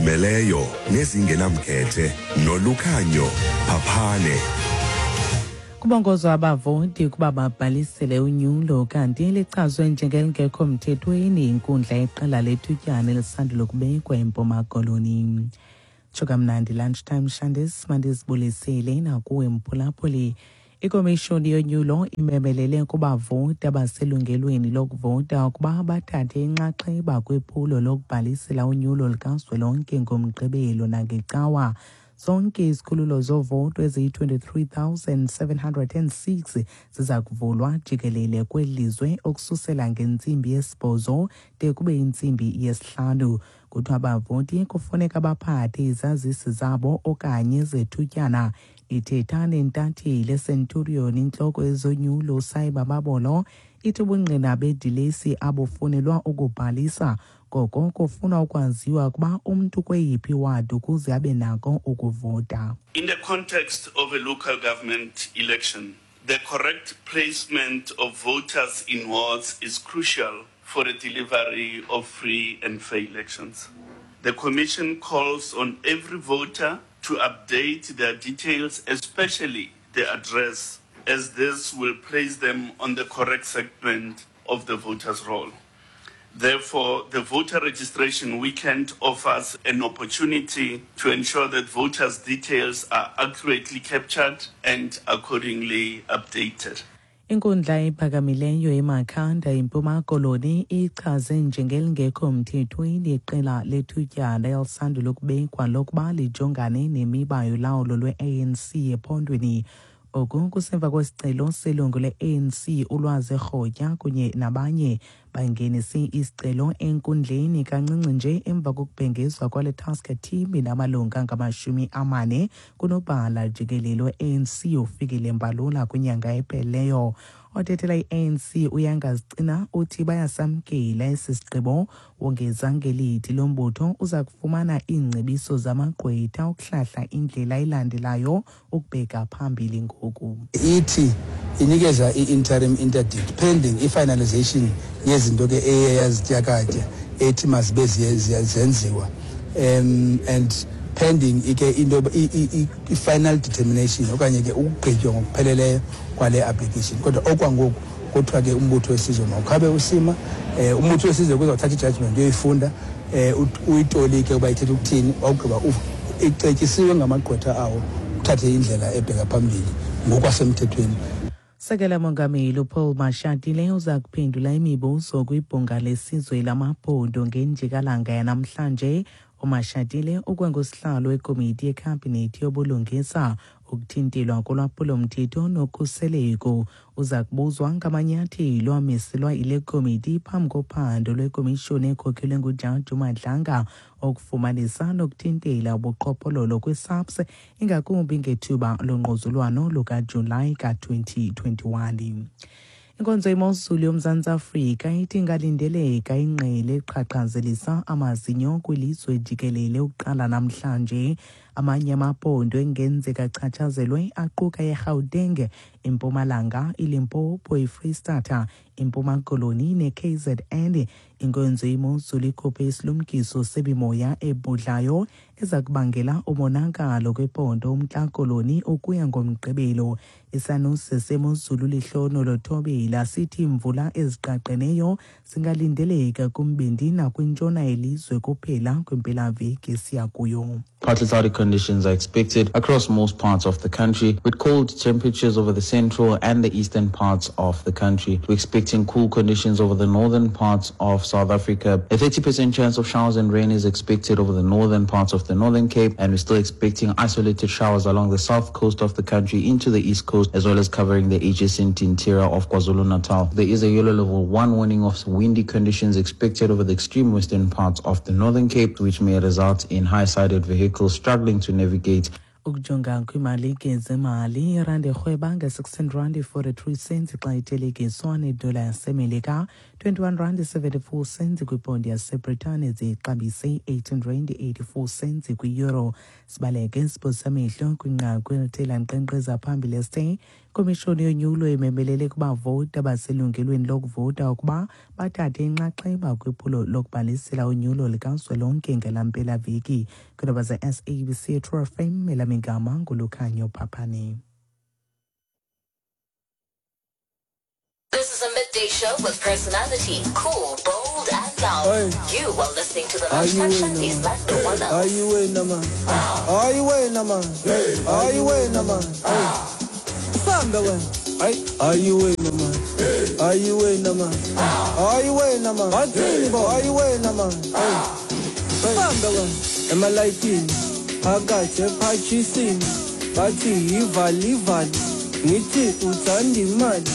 Ezizimeleyo nezingenamkhethe nolukhanyo phaphane. Kubongozwa abavoti ukuba babhalisele unyulo kanti lichazwe njengelingekho mthethweni inkundla yeqela lethutyana elisandula ukubekwa eMpuma Koloni. Tsho kamnandi lunchtime Shandis, mandizibulisele nakuwe mphulaphuli. Ikomishoni yonyulo imemelele kubavoti abaselungelweni lokuvota ukuba bathathe inxaxheba kwiphulo lokubhalisela unyulo likazwelonke ngoMgqibelo nangeCawa. Zonke izikhululo zovoto eziyi-23,706 ziza kuvulwa jikelele kweli lizwe ukususela ngentsimbi yesibhozo de kube yintsimbi yesihlanu. Kuthiwa abavoti kufuneka baphathe izazisi zabo okanye zethutyana. Ithetha nentatheli eCenturion intloko yezonyulo uSaiba Babolo ithi ubungqina bedilesi abufunelwa ukubhalisa, koko kufunwa ukwaziwa ukuba umntu kweyiphi wadi ukuze abe nako ukuvota. In the context of a local government election, the correct placement of voters in wards is crucial for the delivery of free and fair elections. The Commission calls on every voter to update their details, especially their address, as this will place them on the correct segment of the voters' roll. Therefore, the voter registration weekend offers an opportunity to ensure that voters' details are accurately captured and accordingly updated. Inkundla ephakamileyo eMakhanda eMpuma Koloni ichaze njengelingekho mthethweni iqela lethutyana elisandula ukubekwa lokuba lijongane nemiba yolawulo lwe-ANC ephondweni. Oku kusemva kwesicelo selungu le-ANC uLwazi Rhotya kunye nabanye bangenise isicelo enkundleni kancinci nje emva kokubhengezwa kwale task team inamalungu angama-40 kunobhala jikelele we-ANC uFikile Mbalula kwinyanga ephelileyo. Othethela i-ANC uYanga Zicina uthi bayasamkela esi sigqibo, wongeza ngelithi lo mbutho uza kufumana iingcebiso zamagqwetha ukuhlahla indlela elandelayo ukubheka phambili ngoku. Ithi inikeza i-interim interdict pending i-finalization yezinto ke eye yazityakatya ethi mazibe zenziwa and pending ike into i-final determination okanye ke ukugqitywa ngokupheleleyo kwale application. Kodwa okwangoku kuthiwa ke umbutho wesizwe mawukhabe usima. Umbutho wesizwe kuzawuthatha i-judgment uyoyifunda, uyitolike uba ithetha ukuthini, wawugqiba icetyisiwe ngamagqwetha awo uthathe indlela ebheka phambili ngokwasemthethweni. Sekela Mongameli uPaul Mashatile uza kuphendula imibuzo kwibhunga lesizwe lamaphondo ngenjikalanga yanamhlanje. UMashatile ukwangusihlalo wekomiti yekhabhinethi yobulungisa, ukuthintelwa kolwaphulomthetho nokhuseleko. Uza kubuzwa ngamanyathelo amiselwa yile komiti phambi kophando lwekomishoni ekhokhelwe nguJaji uMadlanga okufumanisa nokuthintela ubuqhophololo kwiSAPS, ingakumbi ngethuba longquzulwano lukaJulayi ka-2021. Inkonzo yemozulu yoMzantsi Afrika ithi ingalindeleka ingqele eqhaqhazelisa amazinyo kwilizwe jikelele ukuqala namhlanje. Amanye amaphondo engenzeka achatshazelwe aquka iGauteng, iMpumalanga, iLimpopo, iFreystata, iMpuma Koloni ne-KZN. Inkonzo yemozulu ikhuphe isilumkiso semimoya ebhudlayo eza kubangela umonakalo kwiphondo uMntla Koloni ukuya ngoMgqibelo. Isanuse semozulu Lehlohonolo Thobela sithi iimvula eziqaqeneyo zingalindeleka kumbindi nakwintshona yelizwe kuphela kwimpelaveki esiya kuyo. Partly cloudy conditions are expected across most parts of the country, with cold temperatures over the central and the eastern parts of the country. We're expecting cool conditions over the northern parts of South Africa. A 30% chance of showers and rain is expected over the northern parts of the Northern Cape, and we're still expecting isolated showers along the south coast of the country into the east coast, as well as covering the adjacent interior of KwaZulu-Natal. There is a yellow level 1 warning of windy conditions expected over the extreme western parts of the Northern Cape, which may result in high-sided vehicles struggling to navigate. Ukujonga kwiimalike zemali, irandi irhweba nge-16 rand 43 cents xa ithelekiswa nedola yaseMelika, 21 rand 74 cents kwiponti yaseBritane, zixabise 18 rand 84 cents kwi-euro. Sibaleke siphosa amehlo kwinqaku elithe lankqenkqeza phambili esithe ikomishoni yonyulo imemelele kubavoti abaselungelweni lokuvota ukuba bathathe inxaxheba kwiphulo lokubhalisela unyulo likazwelonke ngela mpelaveki. Kwiindaba ze-SABC True FM, elam igama nguLukhanyo Phaphane. This is a midday show with personality, cool, bold, and loud. Hey. You are listening to the Are you Lunchtime in, Shanties man? like no one Are else. you wena man? Are you wena man? Are you wena man? Usambe wena. Are you wena man? Are you wena man? Are you wena man? Bathini bo? Are you wena man? Usambe wena. Emalayitini phakathi ephathisini bathi ivali ivali ngithi uthanda imali.